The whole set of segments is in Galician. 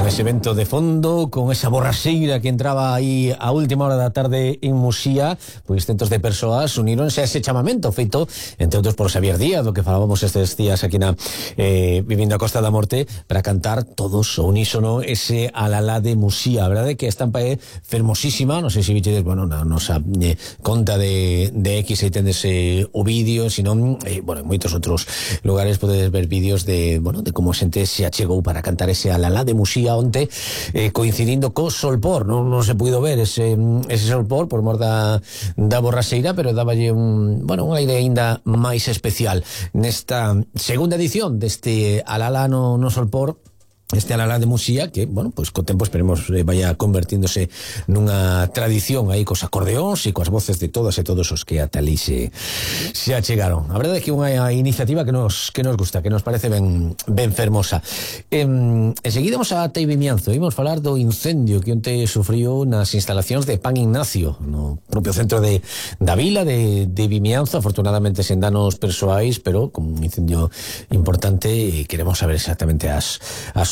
ese vento de fondo, con esa borraxeira que entraba aí a última hora da tarde en Muxía, pois centos de persoas uníronse a ese chamamento feito, entre outros, por Xavier Díaz, do que falábamos estes días aquí na Vivindo a Costa da Morte, para cantar todos o unísono ese alalá de Muxía. A verdade é que a estampa é fermosísima, non sei se vichedes, bueno, na nosa conta de X aí tendes o vídeo, senón, bueno, en moitos outros lugares podedes ver vídeos de, bueno, de como a xente se achegou para cantar ese alalá de Muxía onte, coincidindo co solpor. Non se puido ver ese solpor por mor da borraxeira, pero dáballe un aire aínda máis especial nesta segunda edición deste alalá no solpor, este alalá de Muxía, que, bueno, pois co tempo esperemos vaya convertíndose nunha tradición aí cos acordeóns e coas voces de todas e todos os que ata ali se achegaron. A verdade é que unha iniciativa que nos gusta, que nos parece ben fermosa. Enseguida vamos a Tei Vimianzo, imos falar do incendio que onte sufriu nas instalacións de Pan Ignacio, no propio centro da vila de Vimianzo, afortunadamente sen danos persoais, pero con un incendio importante, e queremos saber exactamente as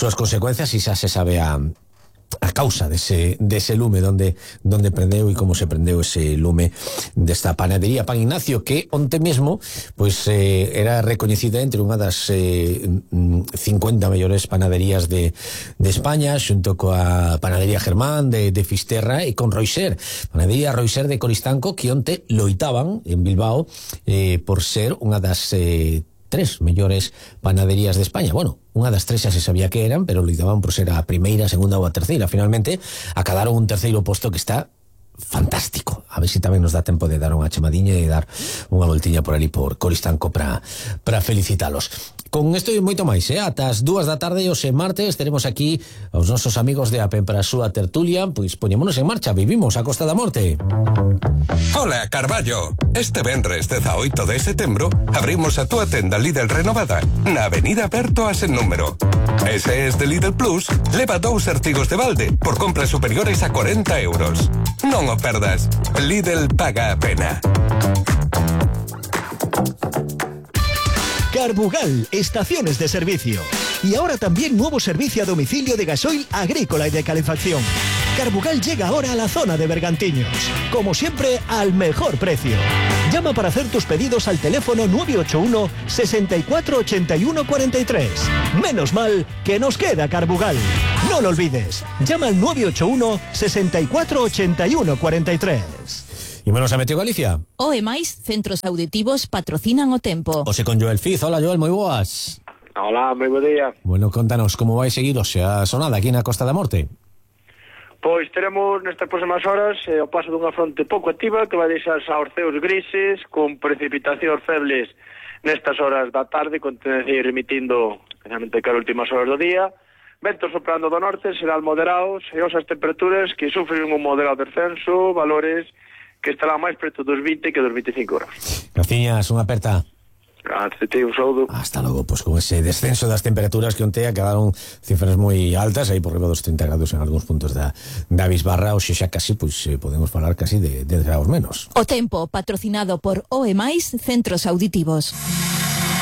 súas consecuencias, e xa se sabe a causa dese lume, donde prendeu e como se prendeu ese lume desta panadería Pan Ignacio, que onte mesmo pois era recoñecida entre unha das 50 mellores panaderías de España, xunto coa panadería Germán de Fisterra e con Roixer, panadería Roixer de Coristanco, que onte loitaban en Bilbao por ser unha das 3 mellores panaderías de España. Bueno, unha das 3 xa se sabía que eran, pero loitaban por ser a primeira, a segunda ou a terceira. Finalmente, acadaron un terceiro posto que está fantástico. A ver se tamén nos dá tempo de dar unha chamadiña e dar unha voltiña por ali por Coristanco para felicitalos. Con isto e moito máis, ata as 2 da tarde hoxe martes teremos aquí aos nosos amigos de APEN para a súa tertulia, pois poñémonos en marcha, vivimos a Costa da Morte. Hola, Carballo. Este venres 18 de setembro abrimos a túa tenda Lidl renovada na Avenida Berto a sen número. Ese es de Lidl Plus, leva 2 artigos de balde por compras superiores a 40 euros. Non o perdas. Lidl paga a pena. Carbugal, estaciones de servicio. Y ahora también nuevo servicio a domicilio de gasoil agrícola y de calefacción. Carbugal llega ahora a la zona de Bergantiños. Como siempre, al mejor precio. Llama para hacer tus pedidos al teléfono 981 64 81 43. Menos mal que nos queda Carbugal. No lo olvides. Llama al 981 64 81 43. Y menos a Meteo Galicia. O e máis centros auditivos patrocinan o tempo. Ose con Joel Fiz. Hola, Joel, moi boas. Hola, moi bo día. Bueno, contanos como vai seguir hoxe a sonada aquí na Costa da Morte. Pois teremos nestas próximas horas o paso dunha fronte pouco activa que vai deixar aorceos grises con precipitacións febles nestas horas da tarde, con tendencia remitindo especialmente cara últimas horas do día. Ventos soprando do norte, serán moderados e osas temperaturas que sufren un moderado descenso, valores que estará máis preto dos 20 que dos 25 horas. Graciñas, unha aperta. Un saúdo. Hasta logo, pues con ese descenso das temperaturas que onte quedaron cifras moi altas, aí por riba dos 30 grados en algúns puntos da Bisbarra, hoxe xa casi, pues podemos falar casi de 10 grados menos. O tempo, patrocinado por OE+, Centros Auditivos.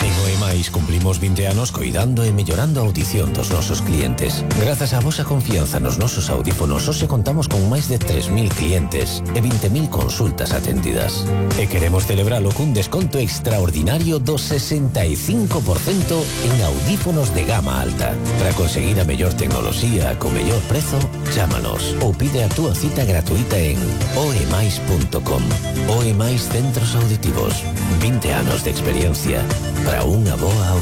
En OE+, cumplimos 20 anos coidando e mellorando a audición dos nosos clientes. Grazas á vosa confianza nos nosos audífonos, hoxe contamos con máis de 3.000 clientes e 20.000 consultas atendidas. E queremos celebralo cun desconto extraordinario do 65% en audífonos de gama alta. Para conseguir a mellor tecnoloxía co mellor prezo, chámanos ou pide a túa cita gratuita en oemais.com. OE+ Centros Auditivos. 20 anos de experiencia para unha boa